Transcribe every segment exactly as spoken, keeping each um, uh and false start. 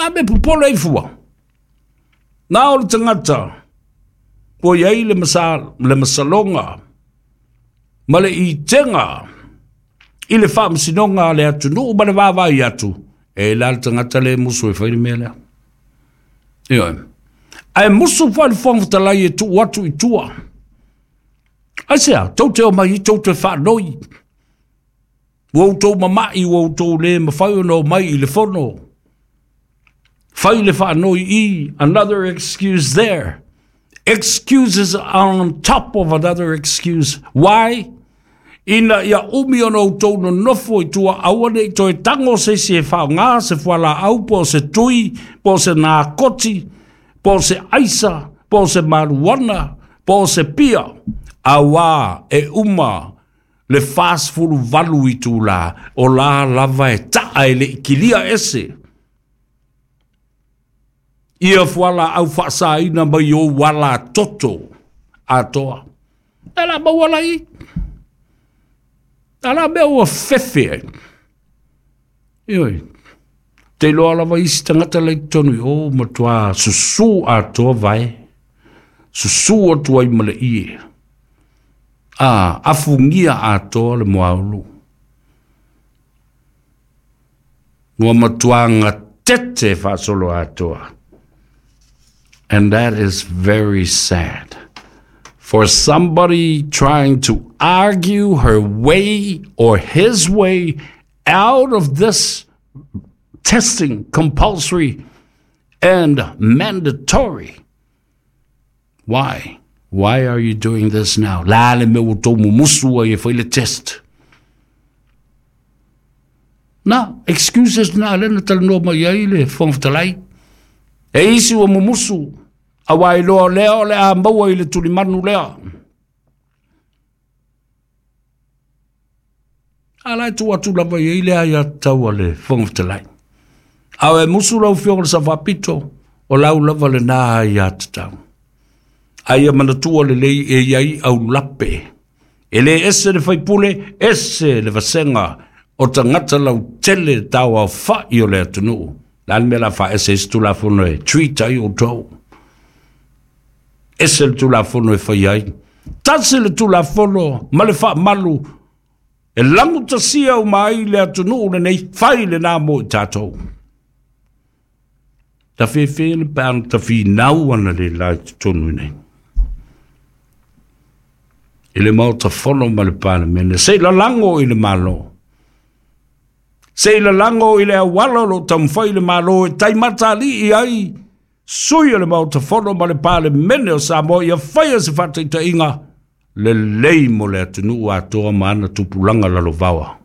A me popole ai fua. Na o le tagata ua i ai le masa, le masaloga ma le itega i le faamasinoga a le atunuu ma le vaavaai atu, e la le tagata le musu e fai le mea lea. Ioe. Ae musu foi le Fofoga Fetalai e tuu atu i tua. Aisea, tou te omai tou te faanoi. Ua outou mama'i, ua outou le mafai ona omai i le fono. Fai le faanoi i, another excuse there. Excuses on top of another excuse. Why? Ina ia umi ona outou nonofo i tua, aua ne i toe tago se isi e faaaogā se fualaau po o se tui, po o se nakoti, po o se aisa, po o se maluana, po o se pia. Auā e uma le fasefuluvalu itulā, o la lava e ta'a e le i kilia ese ia fualaau faasāina mai ou ala toto atoa. E la maua lai. A la mea ua fefe ai. Ioe. Te iloa lava isi tagata lai totonu i o matuā susū atoa vae. Susū atu ai ma le ie. A afugia atoa le muaulu. Ua matuā gatete faasolo atoa. And that is very sad. For somebody trying to argue her way or his way out of this testing, compulsory and mandatory. Why? Why are you doing this now? La le mea ua tou mumusu ai e fai le test. Na, excuses na lea na talanoa mai ai le Fofoga Fetalai. E isi ua mumusu, auā iloa lea o le a maua i le tulimanu lea. A la e tuu atu lava i ai le aiatatau a le Fofoga Fetalai. A e musu lau Afioga i le Sao Faapito, o lau lava lenā aiatatau. A ia manatua lelei e i ai aulape. E lē ese le faipule, ese le vasega o tagata lautele tauaofa'i o le atunuu. Le a le mea o le a faaese ai se Tulafono e treat ai outou? Ese le Tulafono e fai ai. Tasi le Tulafono ma le faamalu e lagutasia uma ai le atunuu lenei, fai lenā mo i tatou. Tafefe le pe ana tafinau ana le la i totonu i nei i le Maota Fono ma le Palemene, se i lalago i le Malo, se i lalago i le auala o lo o taumafai le Malo e taimatali'i ai sui o le Maota Fono ma le Palemene o Samoa ia faia se faataitaiga lelei mo le atunuu atoa ma ana tupulaga lalovaoa.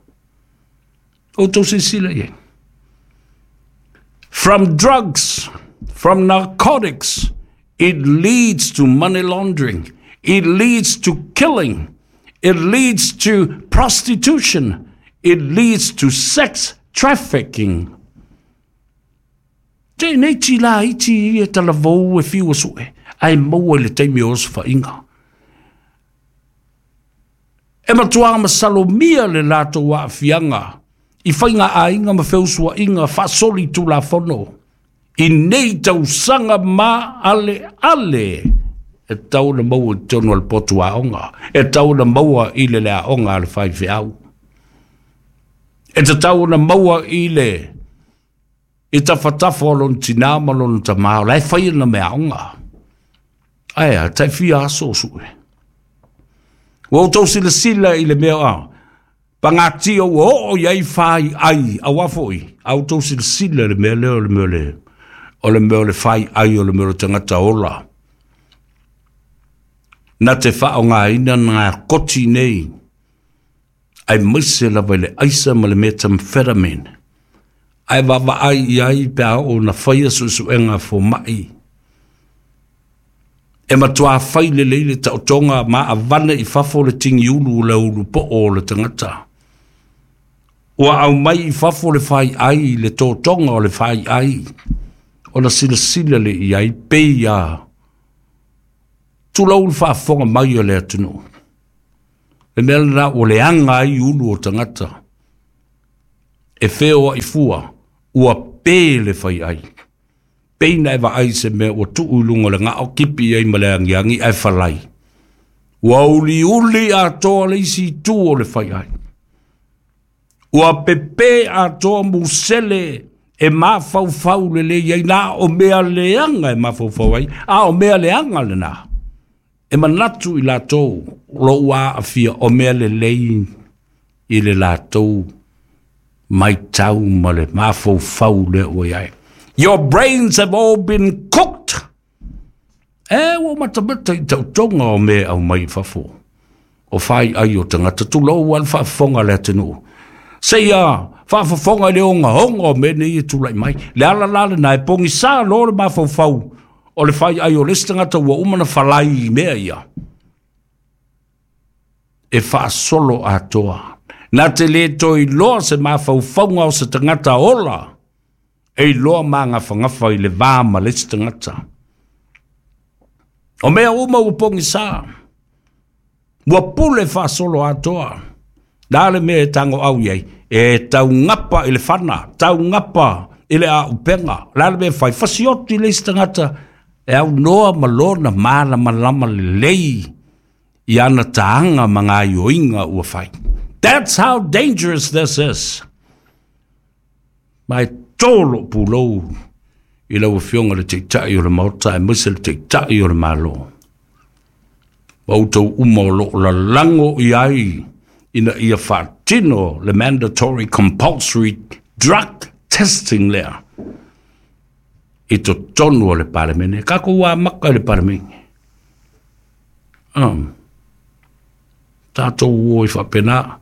Outou silasila i ai. From drugs, from narcotics, it leads to money laundering, it leads to killing, it leads to prostitution, it leads to sex trafficking. Te nei ti la iti e talavou e fiu su'e, ae maua i le taimi o osofaiga. E matuā masalomia le latou aafiaga i faiga aiga ma feusuaiga faasolitulafono i nei tausaga ma ale ale e tau ona maua i totonu o le potu aoga, e tau ona maua i le le aoga a le faifeau, e tatau ona maua i le i tafatafa o lona tinā ma lona tamā o la e fai ana meaaoga. Ae a tai fia aso o su'e. Ua outou silasila i le mea a pagatia ua oo i ai fai ai auā fo'i a outou silasila i le mea lea o le mea o le o le mea o le fai ai o le mea o le tagata ola na te faaaogāina nakoti nei aemaise lava i le aisa ma le methamphetamine ae vaavaai i ai pe a oo na faia suesuega foma'i e matuā fai lelei le taotoga ma avane i fafo le tigiulu o le ulu po'o o le tagata ua aumai i fafo le fai ai le totoga o le fai ai ona silasila le i ai pei a tulou le faafofoga mai o le atunuu le mea lenā ua leaga ai ulu o tagata e feoa'i fua ua pē le fai ai. Pei na e vaai se mea ua tuu i luga o le gao kipi ai ma le agiagi ae falai. Ua uliuli atoa le isi itu o le faiai. Ua pepe atoa musele e mafaufau lelei ai na o mea leaga e mafaufau ai, a o mea leaga lena. E manatu i latou lou aafia o mea lelei i le latou maitau ma le mafaufau lea ua i ai. Your brains have all been cooked. E ua matamata i tautoga o mea aumai i fafo. O fai ai o tagata tulou a le faafofoga a le atunuu. Seia faafofoga i le ogaoga o mea nei e tulai mai. Le ala la lena e pogisa loa le mafaufau o le fai ai o le isi tagata ua uma na falai i mea ia. E faasolo atoa. Na te le toe iloa se mafaufauga o se tagata ola e iloa magafagafa i le va ma le isi tagata. O mea uma ua pogisa, ua pule faasolo atoa. La le mea e tago au i ai, e taugapa i le fana, taugapa i le aupega. La le mea e fai, fasioti le isi tagata e aunoa ma lona malamalama lelei i ana taaga ma gaioiga ua fai. That's how dangerous this is. Ma e tolo pulou i lau afioga le Taitai o le Maota aemaise le Taitai o le Malo. Ma outou uma o loo lalago i ai ina ia faatino le mandatory compulsory drug testing lea i totonu o le Palemene. Kakou amaka i le Palemene. Um, tatou o i faapena.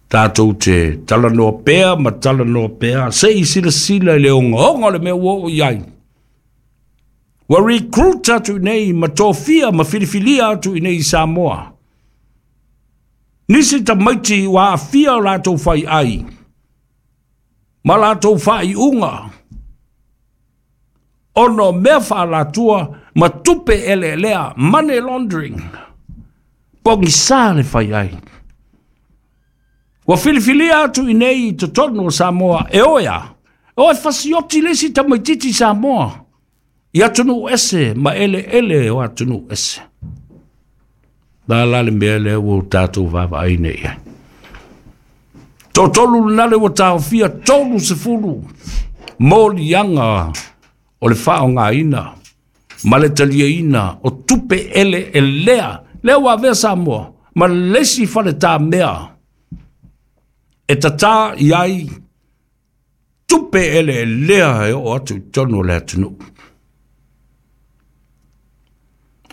Tatou te talanoa pea ma talanoa pea. Se i silasila i le ogaoga o le mea ua oo i ai. Ua recruit atu i nei ma tofia ma filifilia atu i nei i Samoa. Nisi tamaiti ua aafia o latou faiai ma latou faaiuga ona o mea faalatua ma tupe eleelea, money laundering. Pogisa le faiai. Ua filifilia atu i nei i totonu o Samoa e oe a. O e fasioti le isi tamaititi Samoa i atunuu ese ma eleele o atunuu ese. La la le mea lea ua tatou vaavaai nei ai. Toatolu lena le ua taofia tolu sefulu moliaga o le faaaogaina ma le taliaina o tupe eleelea lea ua avea Samoa ma le isi faletamea e tatā i ai tupe eleelea e oo atu i totonu o le atunuu.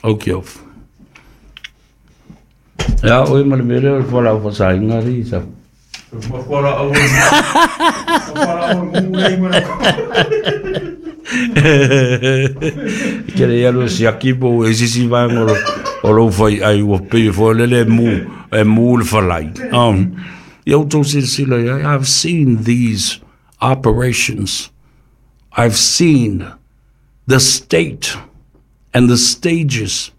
Okei off. Ia oe ma le mea lea o le fualaau faasaina alii sa. Fualaau fualaau mu nei ma Ke le alu e siaki po e sisi vaega o o lou faiai ua pei foi lele e mu e mu le falai. Um, ia outou silasila i ai, I've seen these operations. I've seen the state and the stages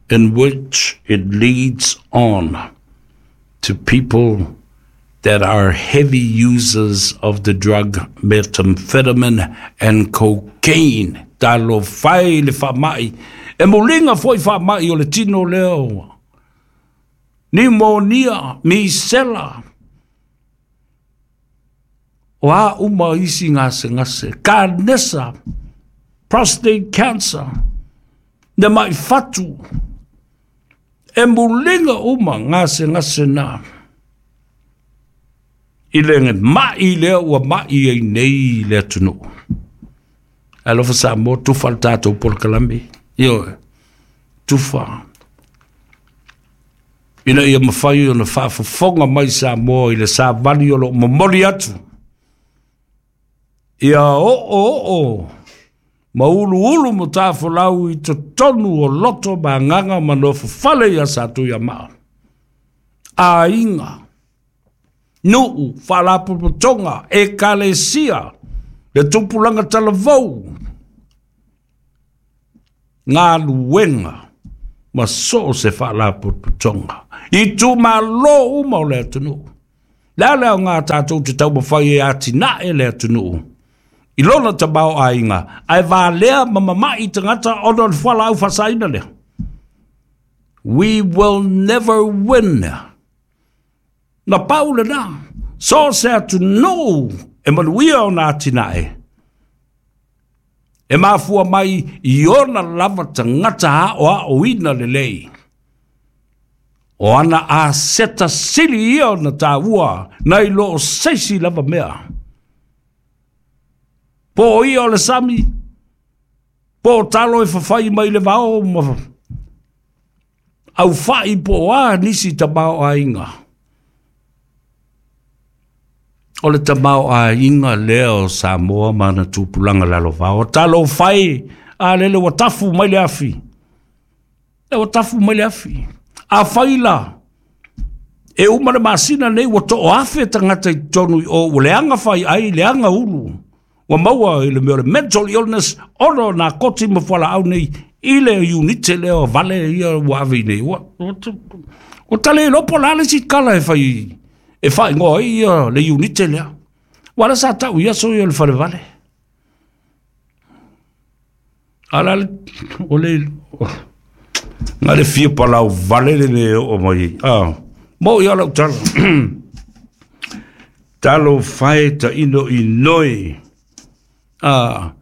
in which it leads on to people that are heavy users of the drug methamphetamine and cocaine. Talofa e le faamai. E muliga foi faamai o le tino lea. Pneumonia, misela. O a uma isi gasegase. Kanesa, prostate cancer. Le mai fatu. E muliga uma gasegase na. I le mai lea ua mai ai nei le atunuu. Alofa Samoa, tufa le tatou polokalame. Ioe, tufa. Ina ia mafai ona faafofoga mai Samoa i le savali o loo momoli atu. Ia oo oo ma uluulu ma tafolau i totonu o loto ma agaga ma nofofale ia Satuiamaa. Aiga, nuu, faalapotopotoga, ekalesia, le tupulaga talavou, galuega ma so o se faalapotopotoga. Itumalo uma o le atunuu. Le a le aoga tatou te taumafai e atinae le atunuu I lona tamaoaiga ae valea ma mama'i tagata ona o le fualaau faasaina lea. We will never win. Na pau lenā, so se atunuu e manuia ona atinae, e mafua mai i ona lava tagata aoaoina lelei. O ana aseta sili ia ona taua nai lo o seisi lava mea. Po o ia o le sami, po o talo e fafai mai le vao ma aufai po o a nisi tamaoaiga. O le tamaoaiga lea o Samoa ma ana tupulaga lalovao. Talo fai a lele ua tafu mai le afi. Le ua tafu mai le afi. A fai la, e uma le masina nei ua too afe tagata i totonu i o, ua leaga fai ai, leaga ulu. Ua maua i le mea o le mental illness, ona o nakoti ma fualaau nei, i le unite lea o vale ia ua ave i nei. Ua, ua, ua tale iloa po o le a le isi kala e fai, e faaigoa ai ia le unite lea. Ua la sa tau i aso ia o le falevale. A la le, o le, na le fia palau vale le mea e oo mai. Ah, mo ia lau tala. Talo fae ta ino i noi. Ah,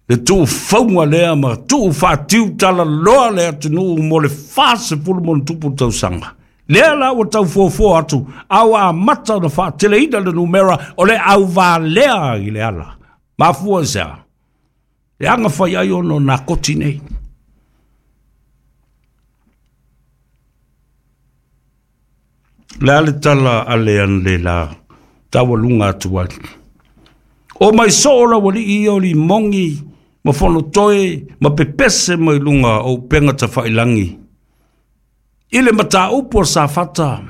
le tuufauga lea ma tuufatiu talaloa le atunuu mo le fasefulu ma ona tupu tausaga. Lea la ua taufuafua atu, a ua amata ona faateleina le numera o le auvalea i le ala. Mafua i se a? Le aga fai ai ona o nakoti nei. Le a le tala a le anle la taualuga atu ai. O mai soo la ualii ia o limogi ma fonotoe ma pepese mai luga o upega tafailagi. I le mataupu o Safata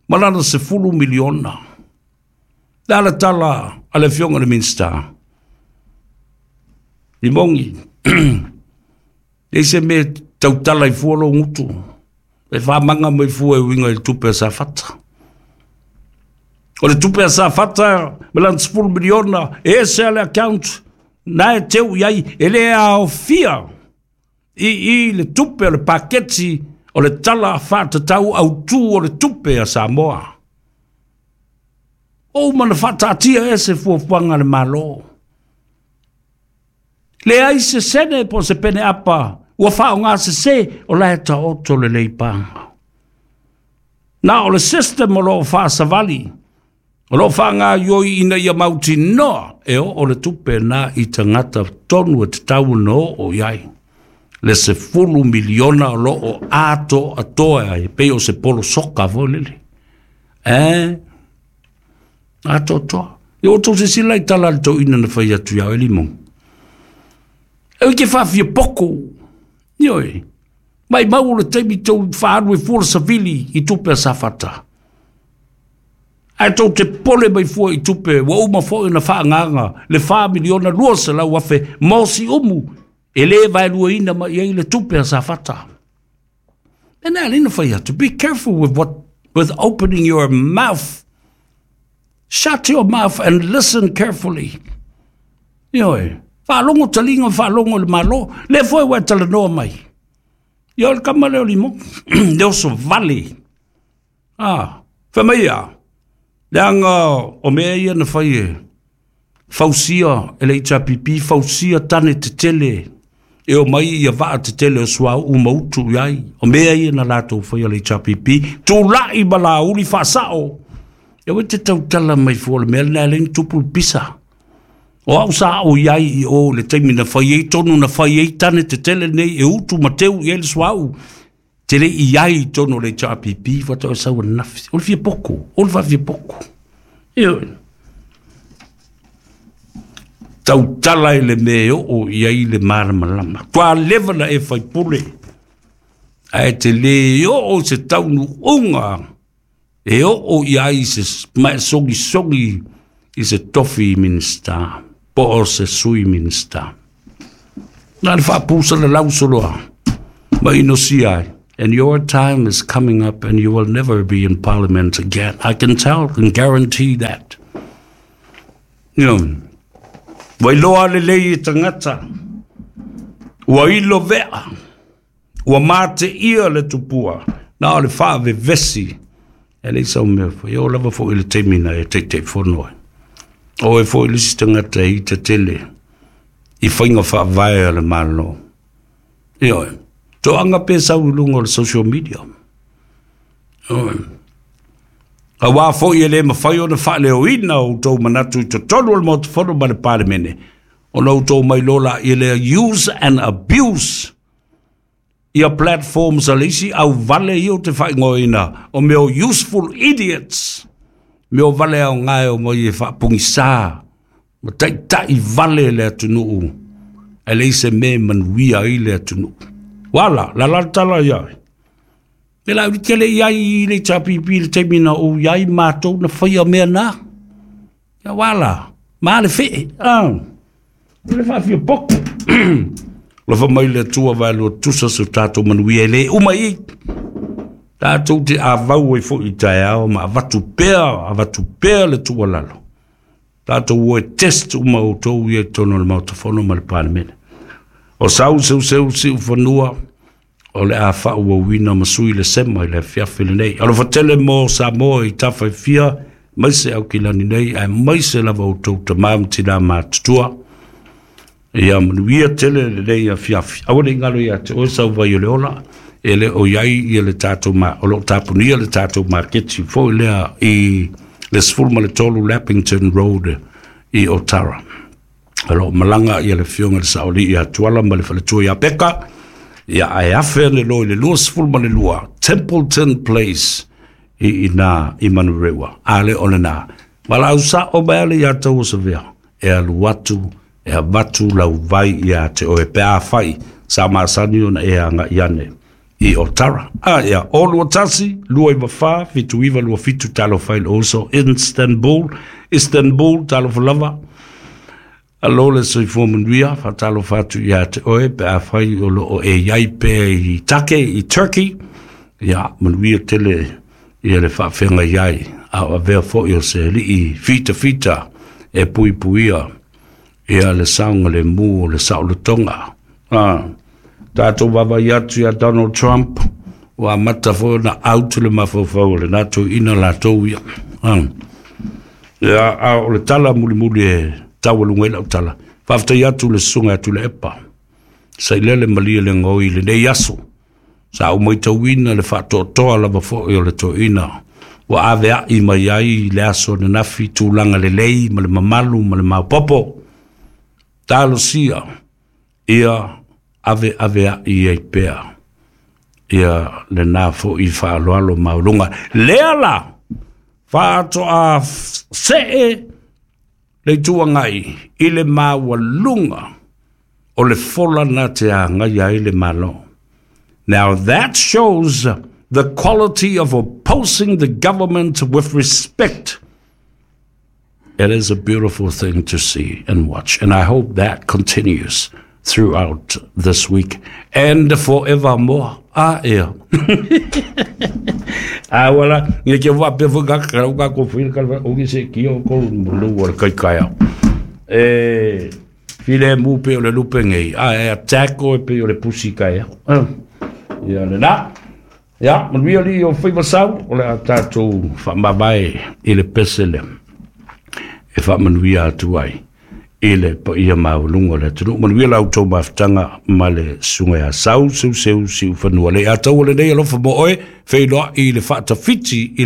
ma lana sefulu miliona. Le a le tala a le afioga i le Minisita. Limogi, leai se mea e tautala ai fua lou gutu. E faamaga mai fua e uiga i le tupe a Safata. O le tupe a Safata ma lana sefulu miliona, e ese a le account, na e teu i ai, e le aofia i i le tupe o le paketi o le tala faatatau autū o le tupe a Samoa. O uma na faataatia e se fuafuaga a le Malo. Leai se sene po o se pene apa ua faaaogasesē o la e taoto lelei paga. Na o le system o loo faasavali, o loo faagaioi ina ia mautinoa e oo le tupe na i tagata tonu e tatau ona oo i ai. Le sefulu miliona o loo atoatoa ai, pei o se polo soka foi lele. E, atoatoa. Ia ua outou silasila i tala a le toeaina na fai atu ia oe Limon. E ui ke faafia poko. Ioe, maimau o le taimi tou faaalu ai fua le savili i tupe a Safata. Ae tou te pole mai fua i tupe ua uma foi ona faagaaga le fa miliona lua selau afe mo Siumu e lē vaeluaina mai ai le tupe a Safata. E na alii na fai atu, be careful with what, with opening your mouth. Shut your mouth and listen carefully. Ioe, faalogo taliga, faalogo i le Malo, lea foi ua e talanoa mai. Ia o le kama lea o Limon, le oso vale. Ah, fai mai ia, leaga o mea ia na fai e fausia e le H R P P, fausia tane tetele e o mai ia vaa tetele o suauu ma utu i ai. O mea ia na latou faia le H R P P, tulai ma lauli faasao. Ia ua te tautala mai fua le mea lena e le ni tupu le pisa. O au sa ao i ai i o le taimi na fai ai tonu na fai ai tane tetele nei e utu ma teu i ai le suauu. Te le i ai i tonu o le H R P P faatoa e sau ananafi. O le fia poko, o le faafia poko. Ioe. Tautala i le mea e oo i ai le malamalama. Tua leva na e faipule. Ae te le oo se taunuuga e oo i ai se maesogisogi i se tofi Minisita, po o se sui Minisita. Na le faapusa le lausoloa ma inosia ai. And your time is coming up and you will never be in parliament again. I can tell and guarantee that. You know, Wailoa lelei e tagata, ua ilo vea, ua mateia le tupua, na o le faavevesi, e leai sau mea foi, e oo lava foi i le taimi na e Taitaifono ai. O e foi le isi tagata e ita tele i faiga faavae a le Malo. Ioe, toaga pe sau i luga o le social media. Ioe. Auā foi e le mafai ona faaleoina o outou manatu i totonu o le Maota Fono ma le Palemene, ona outou mailoa laia lea use and abuse ia platforms a le isi auvale ia ou te faaigoaina o mea o useful idiots, mea o vale aoga e omai e faapogisā ma taitai vale le atunuu ae leai se mea e manuia ai le atunuu. Uala, la la le tala ia oe. Me la uli tele i ai i le H P P le taimi na ou i ai matou na faia mea na. Ia wala, ma le fee. Ah. Le faafia poko. Lofa mai le Atua vaelua tusa so tatou manuia e le uma i. Tatou te avau ai foi i taeao ma avatu pea, avatu pea le tuualalo. Tatou o e test uma outou ia i totonu o le Maota Fono ma le Palemene. O sau seuseu siufanua, o le a faauauina ma sui le sema i le afiafi lenei. Alofa tele mo Samoa i tafa e fia, maise Aukilani nei, ae maise lava outou tamā ma tinā matutua. Ia manuia tele lenei afiafi. Aua ne i galo ia te oe sau vai o le ola, e le o iai ia le tatou ma, o loo tapunia le tatou maketi foi lea i le sefulu ma le tolu Lappington Road i Otara. O loo malaga ia le afioga i le Saolii ia Tuala ma le faletua ia Peka, ia ae afe ane loa i le luasefulu ma le lua Templeton Place i ina i Manurewa. A le o lena. Valaau sao mai ale ia tau o Savea, e alu atu, e avatu lau vai ia te oe pe afai sa masani ona e agai ane i Otara. A ia, o lua tasi, lua iwa fa, fitu iwa lua fitu talofa i le oso, Istanbul, Istanbul, talofa lava. Alo le soifua manuia, faatalofa atu ia te oe pe afai o loo e iai pea i Take, i Turkey. Ia, manuia tele ia le faafeagai ai, a o avea foi o se alii fitafita e puipuia ia le saoga le mu o le saolotoga. Ah, tatou vaavaai atu ia Donald Trump, ua amata foi ona out le mafaufau o lena toeaina latou ia. Ah. Ia, a o le tala mulimuli e taualuga ai lau tala. Faafetai atu le susuga ia Tuilaepa, sailele malie le goi i lenei aso. Sa ou matauina le faatoatoa lava foi o le toeaina ua aveai mai ai le aso ananafi tulaga lelei ma le mamalu ma le maopoopo. Talosia ia ave aveai ai pea ia lena foi faaaloalo maualuga. Lea la faatoa see le Itu Agai i le maualuga o le fola na te agaia ai le Malo. Now that shows the quality of opposing the government with respect. It is a beautiful thing to see and watch, and I hope that continues throughout this week and forevermore. Ah, ia. Ah, wala, nge ke wa pe fo ka ka ka ko fil ka o ki se ki o ko lu o kai kai. E file mu pe o le lupe ngei. Ah, e attack o pe o le pusi kai. Ia le na. Ia, manuia li o faiva sau, o le a tatou faamavae i le pese lea e faamanuia atu ai i le paia maualuga o le atunuu. Manuia la outou mafutaga ma le susuga ia Sau Seuseu Siufanua. Le ataua lenei alofa mo oe, feiloai i le faatafiti i le